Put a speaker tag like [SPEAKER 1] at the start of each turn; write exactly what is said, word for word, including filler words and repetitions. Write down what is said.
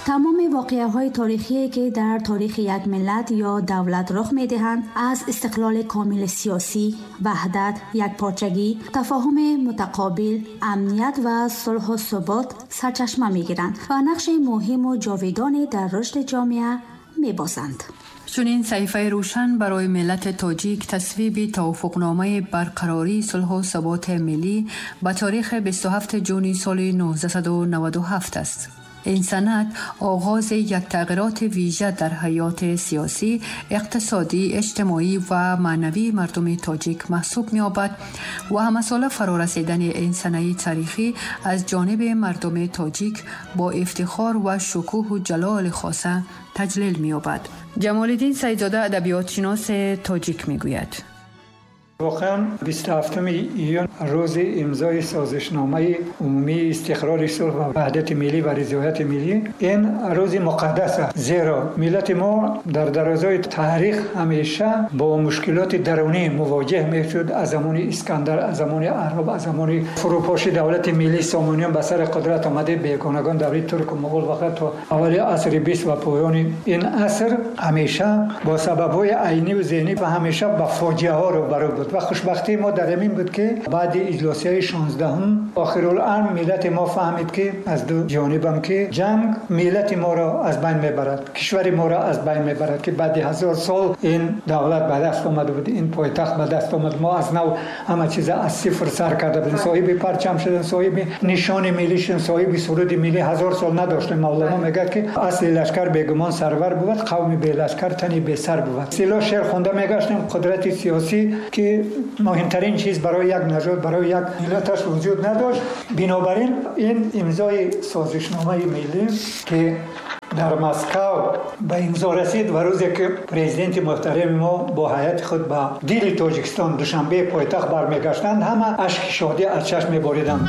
[SPEAKER 1] Тамоми воқеаҳои таърихие ки дар таърихи як миллат ё давлат рух медиҳанд, аз истиқлоли комили сиёсӣ, ваҳдат, якпорчагӣ, тафоҳуми мутақобил, амният ва сулҳу субот сарчашма мегиранд ва нақши муҳиму ҷовидоне дар рушди ҷомеа мебозанд.
[SPEAKER 2] Чунин саҳифаи рӯшан барои миллати тоҷик тасвиби тавофуқномаи барқарории сулҳу суботи миллӣ ба таърихи бисту ҳафтуми ҷуни соли нуздаҳсаду наваду ҳафт аст. Ин санад оғози як тағйироти вижа дар ҳаёти сиёсӣ, иқтисодӣ, иҷтимоӣ ва маънавии мардуми тоҷик маҳсуб меёбад ва ҳамасола фарорасидани ин санаи таърихӣ аз ҷониби мардуми тоҷик бо ифтихор ва шукӯҳу ҷалоли хоса таҷлил меёбад. Ҷамолиддин Саидзода, адабиётшиноси тоҷик, мегӯяд:
[SPEAKER 3] Воқеан, бисту ҳафтуми июн, рӯзи имзои созишномаи умумии истиқрори сулҳ ва ваҳдати миллӣ ва ризояти миллӣ, ин рӯзи муқаддас аст, зеро миллати мо дар дарозои таърих ҳамеша бо мушкилоти дарунӣ мувоҷеҳ мешуд. Аз замони Искандар, аз замони аъроб, аз замони фурӯпоши давлати миллии Сомониён, ба сари қудрат омадаи бегонагон, даври турку муғул ва то аввали асри бист ва поёни ин аср ҳамеша бо сабабҳои айнӣ ва зеҳнӣ ва ҳамеша ба фоҷиаҳо рӯбарӯ буд. Ва хушбахтии мо дар ҳамин буд, ки баъди иҷлосияи шонздаҳум охируламр миллати мо фаҳмид, ки аз ду ҷонибам ки ҷанг миллати моро аз байн мебарад, кишвари моро аз байн мебарад, ки баъди ҳазор сол ин давлат ба даст омада буд, ин пойтахт ба даст омад. Мо аз нав ҳама чиза аз сифр сар карда будем, соҳиби парчам шудем, соҳиби нишони миллӣ шудем, соҳиби суруди миллӣ ҳазор сол надоштем. Мавлоно мегӯяд, ки асли лашкар бегумон сарвар бувад, қавми белашкар тани бесар бувад. Сило шеър хонда мегаштем. Қудрати сиёсӣ, ки муҳимтарин чиз барои як нажод, барои як миллаташ, вуҷуд надошт. Бинобар ин ин имзои созишномаи миллӣ, ки дар Москав ба имзо расид ва рӯзе ки президенти муҳтарами мо бо ҳайати худ ба дили Тоҷикистон, Душанбе пойтахт, бармегаштанд, ҳама ашки шодӣ аз чашм мебориданд.